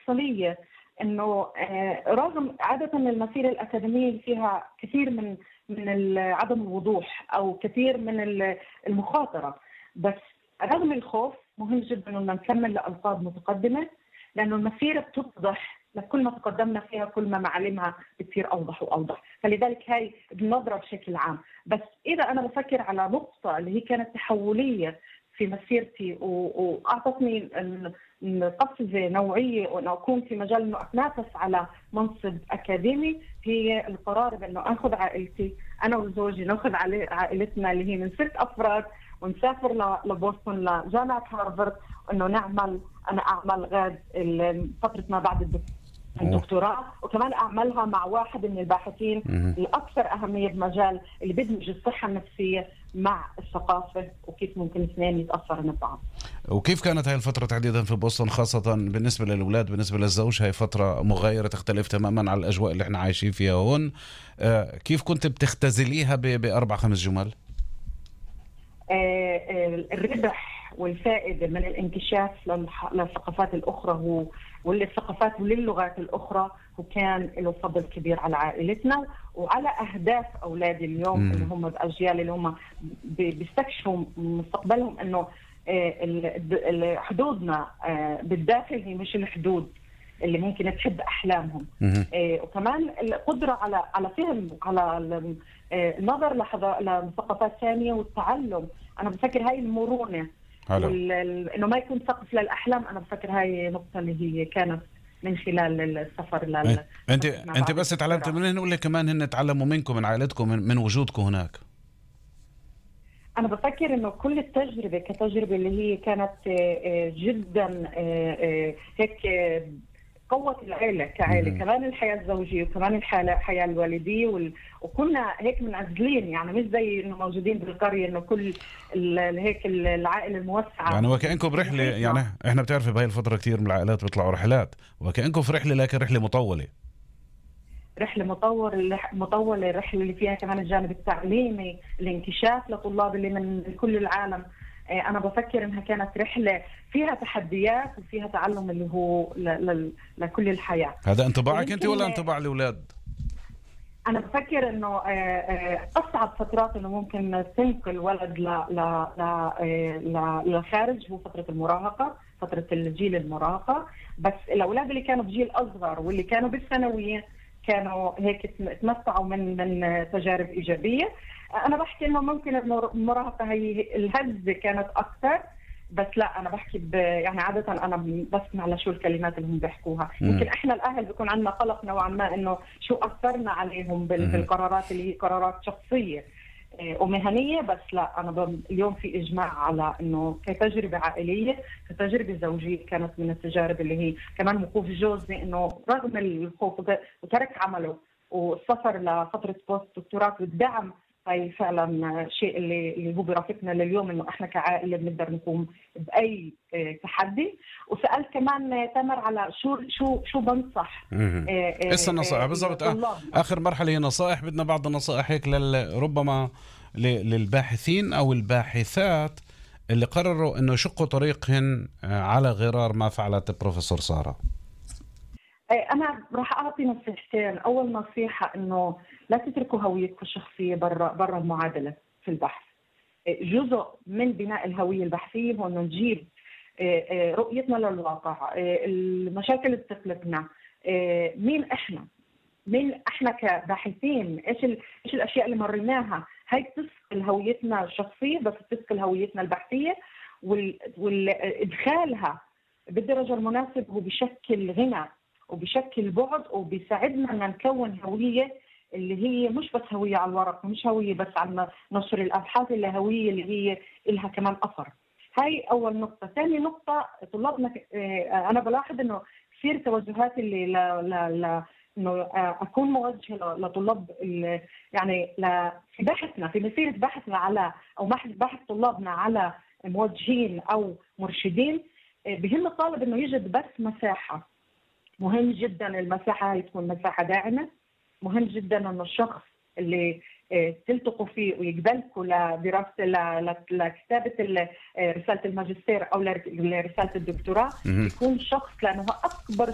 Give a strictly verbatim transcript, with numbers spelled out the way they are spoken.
المفصلية إنه رغم عادة المسيرة الأكاديمية فيها كثير من من عدم الوضوح أو كثير من المخاطرة، بس رغم الخوف مهم جدا إنه نكمل لألقاب متقدمة، لأنه المسيرة بتوضح لكل ما تقدمنا فيها كل ما معالمها بتصير أوضح وأوضح. فلذلك هاي النظرة بشكل عام. بس إذا أنا بفكر على نقطة اللي هي كانت تحولية في مسيرتي وأعطتني قفزة نوعية وأن أكون في مجال أنه أتنافس على منصب أكاديمي، هي القرار بأنه أخذ عائلتي أنا وزوجي، نأخذ عائلتنا اللي هي من ست أفراد ونسافر لبوسطن لجامعة هارفارد، وأنه نعمل أنا أعمل غاد فترة ما بعد الدكتوراه، وكمان أعملها مع واحد من الباحثين الأكثر أهمية بمجال اللي بدمج الصحة النفسية مع الثقافة وكيف ممكن اثنين يتأثروا من بعض. وكيف كانت هاي الفترة تحديدا في بوسطن خاصة بالنسبة للأولاد؟ بالنسبة للزوج هاي فترة مغايرة تختلف تماما عن الأجواء اللي احنا عايشين فيها هون. آه كيف كنت بتختزليها بأربع خمس جمل؟ آه الربح والفائدة من الانكشاف للثقافات الأخرى وللثقافات وللغات الأخرى، وكان له فضل كبير على عائلتنا وعلى أهداف أولادي اليوم م. اللي هم الأجيال اللي هم بيستكشفوا مستقبلهم، أنه حدودنا بالداخل هي مش الحدود اللي ممكن تحد أحلامهم. وكمان القدرة على على فهم على النظر لثقافات ثانية والتعلم. أنا بفكر هاي المرونة انه ما يكون سقف للاحلام، انا بفكر هاي نقطه اللي هي كانت من خلال السفر لل انت انت بس تعلمت منين ولا كمان هن تعلموا منكم من عائلتكم من, من وجودكم هناك؟ انا بفكر انه كل التجربه كتجربه اللي هي كانت جدا هيك قوة العائلة كعائلة، مم. كمان الحياة الزوجية وكمان الحياة الوالدية وال... وكنا هيك منعزلين، يعني مش زي إنه موجودين بالقرية إنه كل ال... هيك العائلة الموسعة، يعني وكأنكم برحلة. يعني إحنا بتعرفي بهاي الفترة كتير من العائلات بيطلعوا رحلات، وكأنكم في رحلة لكن رحلة مطولة. رحلة مطور مطولة الرحلة اللي فيها كمان الجانب التعليمي، الانكشاف لطلاب اللي من كل العالم. أنا بفكر إنها كانت رحلة فيها تحديات وفيها تعلم اللي هو ل... ل... لكل الحياة. هذا انطباعك أنت ولا انطباع الأولاد؟ أنا بفكر إنه أصعب فترات إنه ممكن تنقل ولد ل... ل... ل... للخارج هو فترة المراهقة، فترة الجيل المراهقة. بس الأولاد اللي كانوا بجيل أصغر واللي كانوا بالثانوية كانوا هيك تمتعوا من من تجارب إيجابية. أنا بحكي إنه ممكن المراهقة هي الهزة كانت أكثر، بس لا أنا بحكي ب... يعني عادة أنا بسمع لشو الكلمات اللي هم بيحكوها. يمكن إحنا الأهل بيكون عندنا قلق نوعا ما إنه شو أثرنا عليهم بال... بالقرارات اللي هي قرارات شخصية ومهنية. بس لا أنا ب... اليوم في إجماع على إنه كتجربة عائلية كتجربة زوجية كانت من التجارب اللي هي كمان موقوف جوزي إنه رغم الخوف وترك عمله والسفر لفترة بوست دكتوراه والدعم، هاي فعلا شيء اللي اللي هو برافقنا لليوم انه احنا كعائله بنقدر نقوم باي تحدي. وسالت كمان تامر على شو شو شو بنصح ايش النصائح بالضبط؟ اخر مرحله هي نصائح، بدنا بعض النصائح هيك ربما للباحثين او الباحثات اللي قرروا انه يشقوا طريقهن على غرار ما فعلت بروفيسور سارة. أنا راح أعطي نصيحتين. أول نصيحة إنه لا تتركوا هويتكم الشخصية برا برا المعادلة في البحث. جزء من بناء الهوية البحثية هو إنه نجيب رؤيتنا للواقع، المشاكل اللي بتقلقنا، مين إحنا، مين إحنا كباحثين، إيش إيش الأشياء اللي مريناها. هاي بتثقل هويتنا الشخصية بس بتثقل هويتنا البحثية، والإدخالها بالدرجة المناسبة هو بشكل غنى وبشكل بعد وبيساعدنا ان نكون هويه اللي هي مش بس هويه على الورق ومش هويه بس على نشر الابحاث، اللي هويه اللي هي لها كمان اثر. هاي اول نقطه. ثاني نقطه طلابنا، انا بلاحظ انه كثير توجهات اللي لا لا لا انه اكون موجهه لطلاب يعني في بحثنا في مسيره بحثنا على او بحث طلابنا على موجهين او مرشدين. بهم الطالب انه يجد بس مساحه. مهم جدا المساحة هي تكون مساحة داعمة. مهم جدا انه الشخص اللي تلتقوا فيه ويقبلكوا لدراسة لكتابة رسالة الماجستير او لرسالة الدكتوراه يكون شخص، لانه اكبر